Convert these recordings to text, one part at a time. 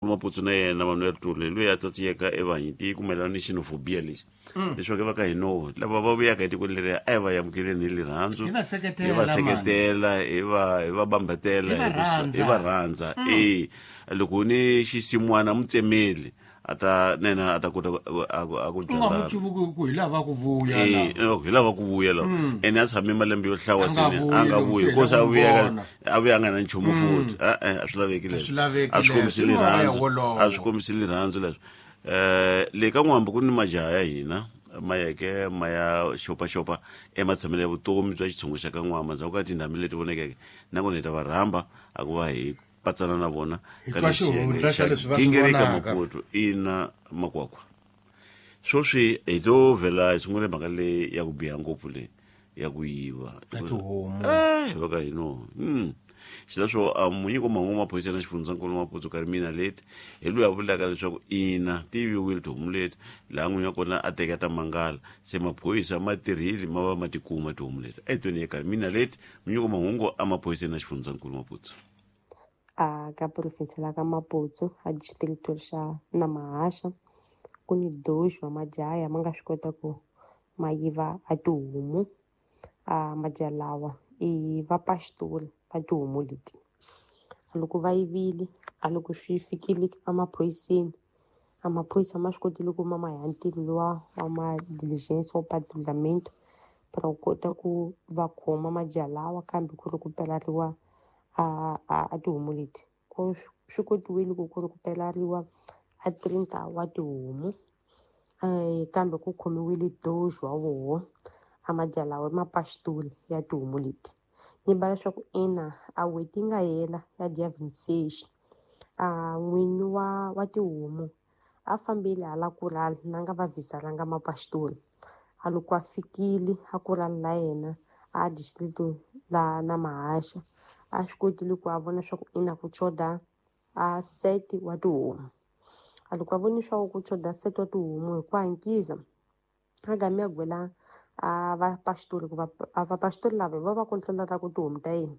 Maputsu na yena Manuel Tule loyi a tsatsiyeka evanyiti ku mayelana ni xenophobia lexi leswaku va ka hino lava va vuyaka etikweni leriya a hi va amukeleni hi rirhandzu, Hi va seketela, hi va seketela, hi va bambatela, Hi va rhandza. Hi va rhandza. E loko ni xisin'wana mutsemeli a ta na yena a ta kota a ku U nga byala. mu cuvuki ku hi lava ku vuya Eh, la. hi lava ku vuya la, ene a tshame malembe yo hlawa. A nga Sene vuyi a nga loko vuyi se hi kosi lava a ku vuya vona. A vuya a nga na nchumu futhi. E-e, a swi laveki A leswo. swi laveki A swi kombisi leswo. I moya rirhandzu. wolowo. A swi kombisi rirhandzu leswo. Le ka n'wambu ku ni majaha ya hina ma yeke ma ya xopaxopa ematshamelo ya vutomi bya xitshungu xa ka n'wamba ndzhaku ka tindhambi leti vonekeke, nakona hi ta va rhamba a ku va hi patsana na vona Hi ka twa lexi xihundla xiyenge xa leswi va swi Gingirika vonaka. Maputo ina makwakwa. Sweswi hi to vhela hi sungule mhaka leyi ya ku biha ngopfu, leyi ya ku yiva Ya tihomu. Eh, va ka hino xileswo a munyiko mahungu maphorisa na xifundzankulu Maputo Karimina leti hi loyi a vulaka leswaku ina ti yiviwile tihomu leti, laha n'winyi wa kona a teka ta mangala, se maphorisa ma tirhile ma va ma tikuma tihomu leti. A hi tweni ya Karimina leti, munyiko mahungu a maphoriseni na xifundzankulu Maputo. A ka province la ka Maputo, a distrito xa Namahasha, ku ni doxo wa majaha ma nga swi kota ku ma yiva a tihomu. A majaha lawa i vapastori va tihomu leti. Loko va yivile, a loko swi fikile emaphoyiseni, a maphorisa ma swi kotile ku ma ma ya ntirho luwa wa ma diligence wa patrulhamento para ku kota ku va khoma majaha lawa, kambe ku ri ku pelariwa a tihomu leti, ku swi kotiwile ku ri ku pelariwa a 30 wa tihomu, kambe ku khomiwile doxo wa voho. A majaha lawa i mapastori ya tihomu leti. Ni ba leswaku ina a n'hweti yi nga hela ya dia 26, a n'winyi wa tihomu a fambile hala kurala na nga va vhisalanga mapastori. A loko a fikile a kurala la yena a district la na Mahasha, a swi kotile ku a vona swa ku ina ku choda a set wa tihomu. A loko a voni swa ku choda set wa tihomu, hi ku hankisa a game a gwela a vapastori, ku va vapastori lava hi vo va controlaka tihomu ta yena.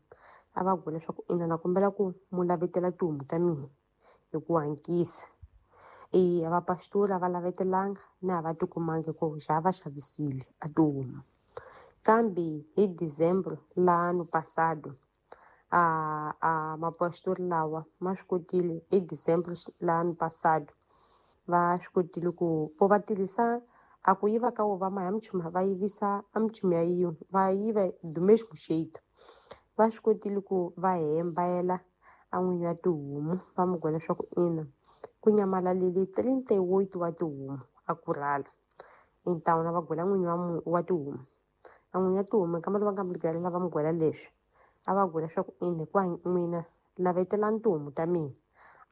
A va gwela leswaku ina na kombela ku mu lavetela tihomu ta mina hi ku hankisa. E vapastori a va lavetelanga na a va tikumangi ku xa va xavisile a tihomu. Kambe hi December la ano passado, a mapastori lawa ma swi kotile hi December la ano passado, va swi kotile ku vo va tirhisa a ku yiva ka wo va ma ya muchuma va yivisa a muchumi ya yin'we va yiva do mesmo jeito. Va swi kotile ku va hembayela a n'winyi wa tihomu, va mu gwela leswaku ina ku nyamalalile 38 wa tihomu a kurhala. Então na va gwela n'winyi wa tihomu, a n'winyi wa tihomu nkama lowu va nga mu ligalela va mu gwela leswi, a va gwela leswaku ina hikuva n'wina lavetelani tihomu ta mina,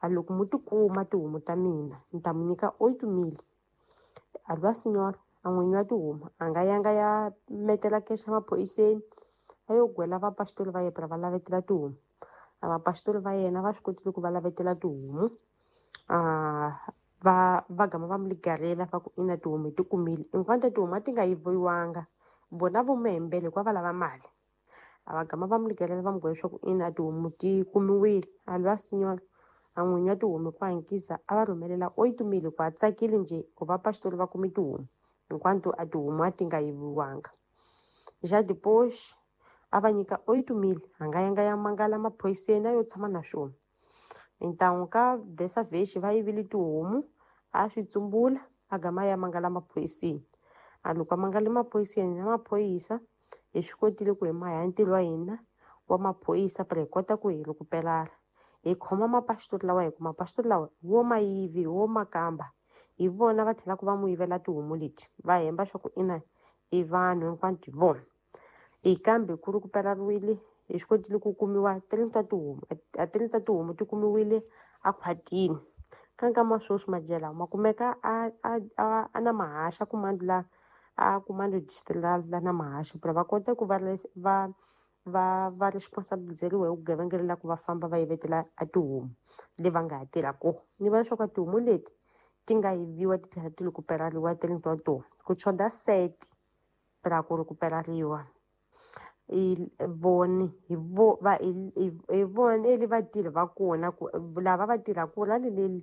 a loko mu ti kuma tihomu ta mina ni ta mu nyika 8 mil. A lwa senhora a n'winyi wa tihomu a nga yanga ya metela kexa maphoriseni, a yo gwela vapastori va yena va lavetela tihomu. A vapastori va yena va swi kotile ku va lavetela tihomu, a va gama va mu ligarela va ku ina tihomu hi ti kumile, hinkwato tihomu a ti nga yiviwanga, vona vo mu hembela hikuva va lava mali. A va gama va mu ligarela va mu gwela leswaku ina tihomu ti kumiwile. A lwa senhora a n'winyi wa tihomu hi ku hankisa a va rhumelela 8 mil, hikuva a tsakile njhe ku vapastori va kume tihomu, hinkwato a tihomu a ti nga yiviwanga. Já depois a va nyika 8 mil, a nga yanga ya mangala maphoriseni, a yo tshama na swona. Então ka dessa vez va yivile tihomu, a swi tsumbula, a gama ya mangala maphoriseni. A loko a mangale maphoriseni na maphorisa, hi swi kotile ku hi maya ntirho wa hina wa maphorisa para hi kota ku hi rikuperala hi khoma mapastori lawa, hi ku mapastori lawa wo ma yivi wo makamba hi vona va tlhelaka va mu yivela tihomu leti, va hemba swa ku ina i vanhu hinkwato hi vona. E kambe ku ri ku pelariwile, hi swi kotile ku kumiwa 30 tihomu, a 30 tihomu ti kumiwile a khwatini. Ka nkama sweswi majaha lawa ma kumeka a na Mahasha kumando la a kumando district la na Mahasha para va kota ku va responsabilizeriwa hi vugevenga la ku va famba va yivetela a tihomu le va nga ha tirha kona. Ni va leswaku tihomu leti ti nga yiviwa ti tlhela ti rikuperariwa 30 wa tona, ku choda sete ra ku rikuperariwa i voni hi vo va hi vona eli vatirhi va kona ku lava va tirhaka rali leli.